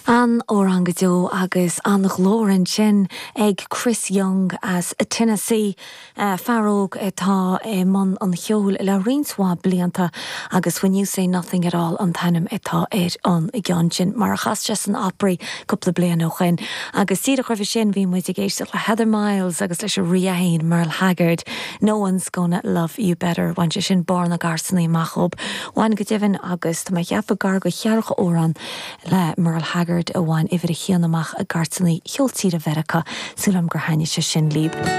An-amhrán go deo agus an-ghlór ansin ag Chris Young as Tennessee, fear óg atá i mbun an cheoil le roinnt mhaith blianta agus When You Say Nothing At All an t-ainm atá ar an gceann sin, mar a chas sé san Opry cúpla bliain ó shoin. Agus díreach roimhe sin bhí muid ag éisteacht le Heather Miles agus leis an rí é féin, Merle Haggard, No One's Gonna Love You Better. Bhain sé sin barr na gcairteanna amach dhób. Bhain go deimhin agus tá mé ag ceapadh gar do cheathracha amhrán le Merle Haggard a bhain uimhir a haon amach i gcairteanna cheol tíre Mheiriceá. Súil agam gur thaitnigh sé sin libh.